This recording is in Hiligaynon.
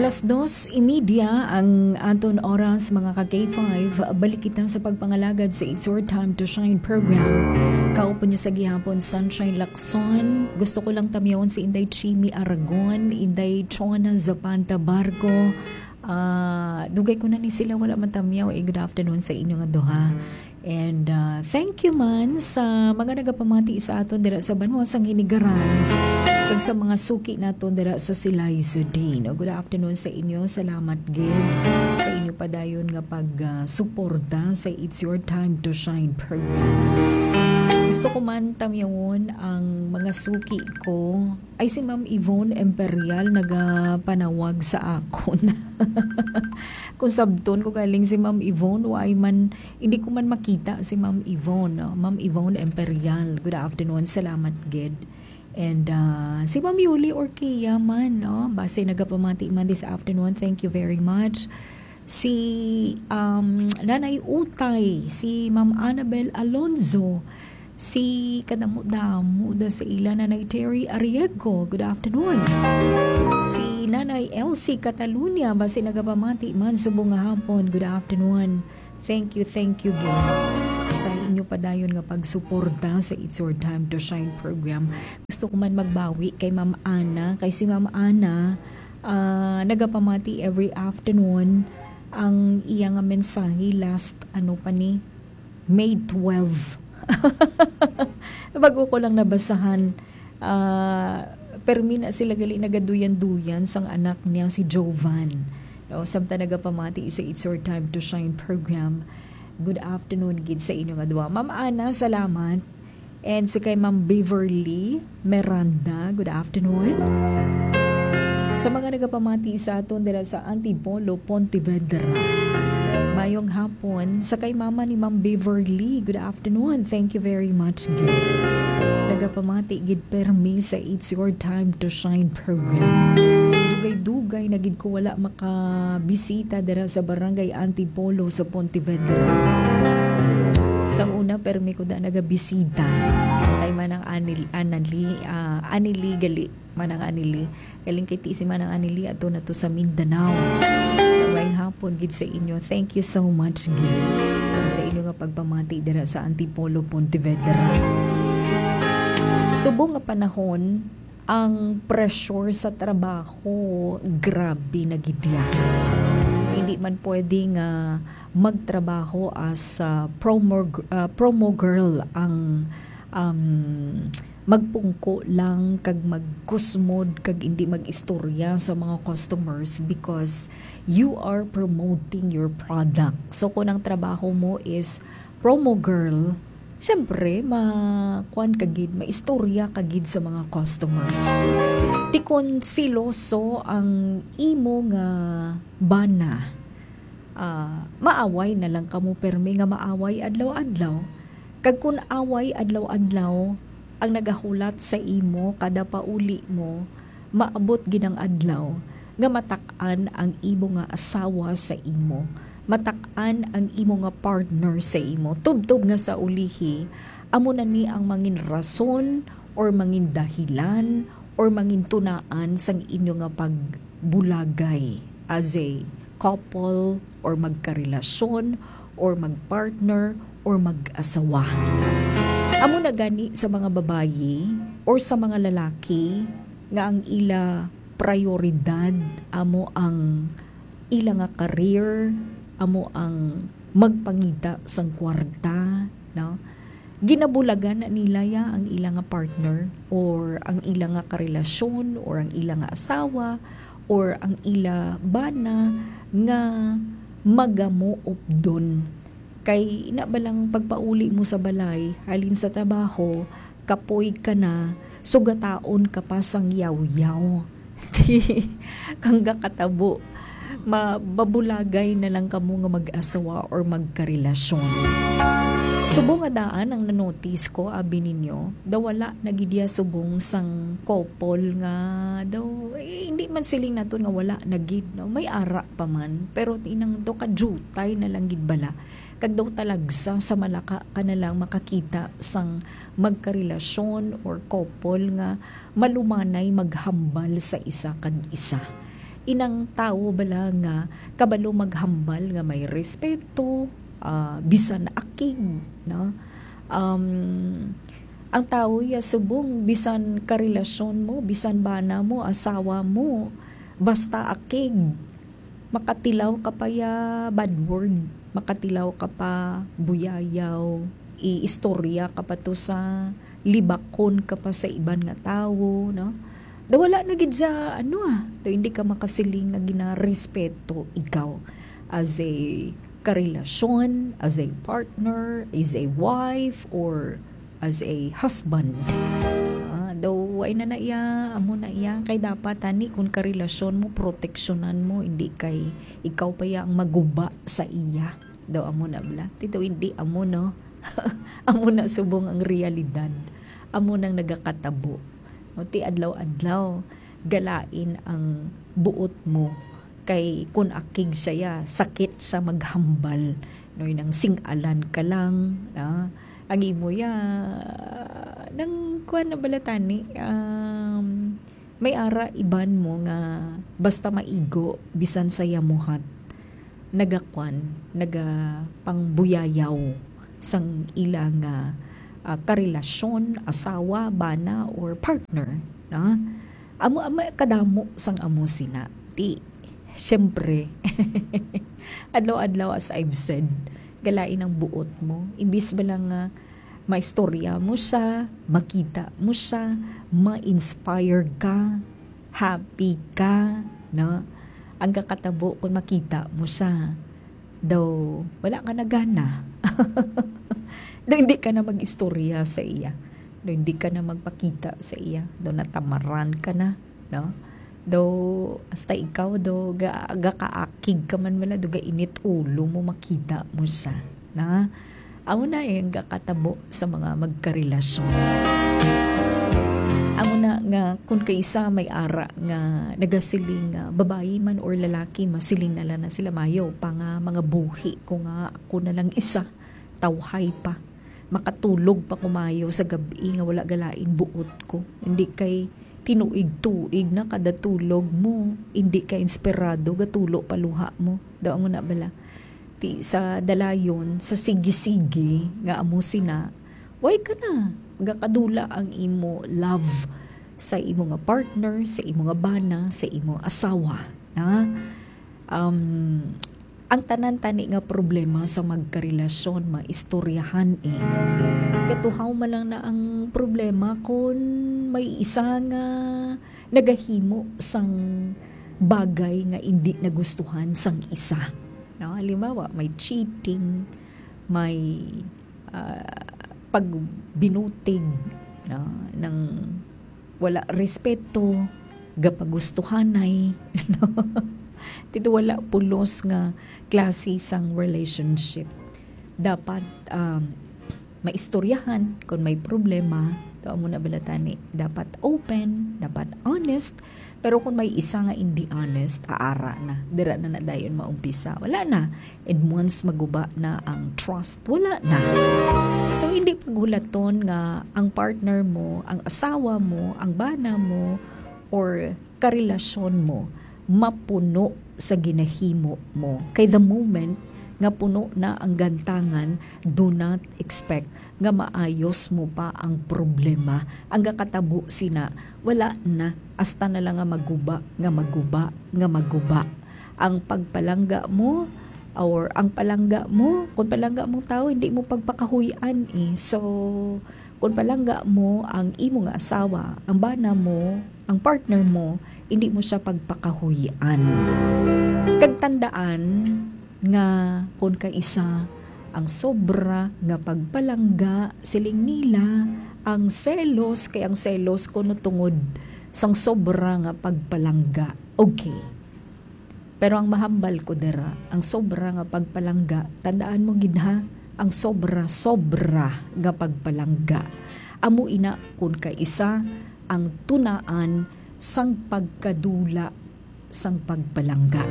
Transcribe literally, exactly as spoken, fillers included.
Alas dos y media ang aton oras, mga ka K five. Balik kita sa pagpangalagad sa It's Your Time to Shine program. Kaupo niyo sa gihapon, Sunshine Lacson. Gusto ko lang tamyawon si Inday Chimi Aragon, Inday Chona Zapanta Barco. Ah, dugay ko na ni sila wala man tamyaw. Eh, good afternoon sa inyo nga duha. And, ah, thank you man sa mga nagapamati sa aton dira sa banwa sang Hinigaran, kag sa mga suki naton dira sa Silay Sudin. O, good afternoon sa inyo. Salamat gid sa inyo padayon nga pag, ah, suporta sa It's Your Time to Shine program. Gusto ko man tamyawon ang mga suki ko. Ay, si Ma'am Yvonne Imperial nagapanawag sa akon. Kung sabton ko galing si Ma'am Yvonne, why man, hindi ko man makita si Ma'am Yvonne, no? Ma'am Yvonne Imperial, good afternoon, salamat gid. And, ah, si Ma'am Yuli Orquia man, no? Base nagapamati man this afternoon, thank you very much. Si, um, Nanay Utay, si Ma'am Annabel Alonzo, si kadamo-damo da sa ila, Nanay Terry Arriego, good afternoon. Si Nanay Elsie Catalunya, basi nagapamati man subong nga hapon, good afternoon. Thank you, thank you gid sa inyo padayon nga pagsuporta sa It's Your Time to Shine program. Gusto ko man magbawi kay Ma'am Ana, kay si Ma'am Ana, ah, nagapamati every afternoon. Ang iya nga mensahe last, ano pa ni, May twelve. Bago ko lang nabasahan, ah, permi na sila gali nagaduyan-duyan sang anak niya si Jovan. No, samtang nagapamati sa It's Your Time to Shine program. Good afternoon gid sa inyo nga duha. Ma'am Ana, salamat. And sa kay Ma'am Beverly Miranda, good afternoon. Sa mga nagapamati sa aton dira sa Antipolo, Pontevedra, mayong hapon. Sa kay mama ni Ma'am Beverly, good afternoon. Thank you very much gid. Nagapamati gid permi sa It's Your Time to Shine program. Dugay-dugay na gid ko wala makabisita dira sa Barangay Antipolo sa Pontevedra. Sa una, permi ko da nagabisita kay Manang Anil-, Anali-, ah, Anili gali, Manang Anili. Galing kay ti si Manang Anili, ato na to sa Mindanao. Maayong hapon gid sa inyo. Thank you so much gid sa inyo nga pagpamati dira sa Antipolo, Pontevedra. Subong nga panahon, ang pressure sa trabaho, grabe na gid ya. Hindi man pwede nga magtrabaho as a promo, ah, promo girl ang, um, magpungko lang kag magkusmod kag hindi mag-istorya sa mga customers because you are promoting your product. So, kung ang trabaho mo is promo girl, syempre, ma-, kuwan ka gid, maistorya ka gid sa mga customers. Ti kon siloso ang imo nga bana, ah, maaway na lang kamo permi nga maaway adlaw-adlaw. Kag kun away adlaw-adlaw ang nagahulat sa imo kada pauli mo, maabot gid ang adlaw nga matak-an ang imo nga asawa sa imo, matak-an ang imo nga partner sa imo. Tubtob nga sa ulihi, amo na ni ang mangin rason or mangin dahilan or mangin tunaan sang inyo nga pagbulagay as a couple or magkarelasyon or magpartner or mag-asawa. Amo na gani sa mga babayi or sa mga lalaki nga ang ila prayoridad amo ang ila nga career, amo ang magpangita sang kwarta, no? Ginabulagan na nila ya ang ila nga partner or ang ila nga karelasyon or ang ila nga asawa or ang ila bana nga magamuupdon. Kay ina ba lang pagpauli mo sa balay, halin sa trabaho, kapoy ka na, sugataon ka pa sang yawyaw. Kang gakatabo, ma-, mabulagay na lang kamo nga mag-asawa or magkarelasyon. Subong nga daan ang nanotice ko, abi ninyo, daw wala na gid ya subong sang couple nga daw, eh, hindi man siling naton nga wala na gid, no? May ara pa man, pero inang daw kadiyutay na lang gid bala. Kag daw talagsa sa Malacca ka na lang makakita sang magkarelasyon or couple nga malumanay maghambal sa isa kag isa. Inang tawo bala nga kabalo maghambal nga may respeto, ah, bisan akig, no? Um, ang tawo ya subong bisan karelasyon mo, bisan bana mo, asawa mo, basta akig, makatilaw ka pa ya bad word, makatilaw ka pa buyayaw, iistorya ka pa to sa libakon ka pa sa iban nga tawo, no? Daw wala na gid siya, ano, ah, daw hindi ka makasiling nga ginarespeto ikaw as a karelasyon, as a partner, as a wife, or as a husband. Ah, daw, ay na na iya, amo na iya. Kay dapat, ani, kung karelasyon mo, proteksyonan mo, hindi kay ikaw pa iya ang maguba sa iya. Daw, amo na bala. Ti daw, hindi, amo, no? Amo na subong ang realidad. Amo nang nagakatabo. No, ti adlaw-adlaw, galain ang buot mo. Kay kun akig siya, ya, sakit siya maghambal. No, nang sing-alan ka lang, ah, ang imo ya, nang kuwan na bala tani, um, may ara iban mo nga basta maigo, bisan sa yamuhat, nagakwan, nagapangbuyayaw sang ila nga, ah, karelasyon, asawa, bana, or partner, na? Amo, amo kadamo sang amo sina. Ti, siyempre, adlaw-adlaw, as I've said, galain ang buot mo. Imbis ba lang nga maistorya mo siya, makita mo siya, ma-inspire ka, happy ka, no? Ang kakatabo kung makita mo siya, daw wala ka na gana. Daw hindi ka na mag-istorya sa iya. Daw hindi ka na magpakita sa iya. Daw natamaran ka na, no? Daw hasta ikaw, daw ga-, gakaakig ka man wala, daw gainit ulo mo makita mo siya, na? Amo na, eh, ang gakatabo sa mga magkarelasyon. Amo na nga, kung kaisa may ara nga nagasiling nga babayi man or lalaki, masiling na lang na sila, "Mayo pa nga mga buhi ko nga ako na lang isa, tawhay pa. Makatulog pa ko mayo sa gab-i nga wala galain buot ko. Hindi kay tinuig-tuig na kada tulog mo, hindi kay inspirado gatulo pa luha mo." Daw amo na bala. Ti sa dalayon, sa sige-sige nga amo sina, way ka na. Gakadula ang imo love sa imo nga partner, sa imo nga bana, sa imo asawa, na? Um, ang tanan tani nga problema sa magkarelasyon, maistoryahan, eh. Katuhaw man lang na ang problema kung may isa nga nagahimo sang bagay nga indi nagustuhan sang isa. No? Halimbawa, may cheating, may, ah, pagbinutig, no? Nang wala respeto, gapagustuhanay, no? Dito wala pulos nga klase sang relationship. Dapat, um, maistoryahan kung may problema. To amo na bala tani. Dapat open, dapat honest. Pero kung may isa nga hindi honest, aara na. Dira na na dayon maumpisa. Wala na. And once maguba na ang trust, wala na. So, hindi paghulaton nga ang partner mo, ang asawa mo, ang bana mo, or karelasyon mo mapuno sa ginahimo mo. Kay the moment nga puno na ang gantangan, do not expect nga maayos mo pa ang problema. Ang gakatabo sina, wala na. Hasta na lang nga maguba, nga maguba, nga maguba. Ang pagpalangga mo, or ang palangga mo, kung palangga mong tao, hindi mo pagpakahuy-an, eh. So, kung palangga mo ang imo nga asawa, ang bana mo, ang partner mo, hindi mo siya pagpakahuy-an. Kag tandaan nga kung kaisa ang sobra nga pagpalangga, siling nila, ang selos, kay ang selos kuno tungod sang sobra nga pagpalangga. Okay. Pero ang mahambal ko dira, ang sobra nga pagpalangga, tandaan mo gid ha, ang sobra, sobra nga pagpalangga. Amo ina kun kaisa ang tunaan sang pagkadula sang pagpalangga.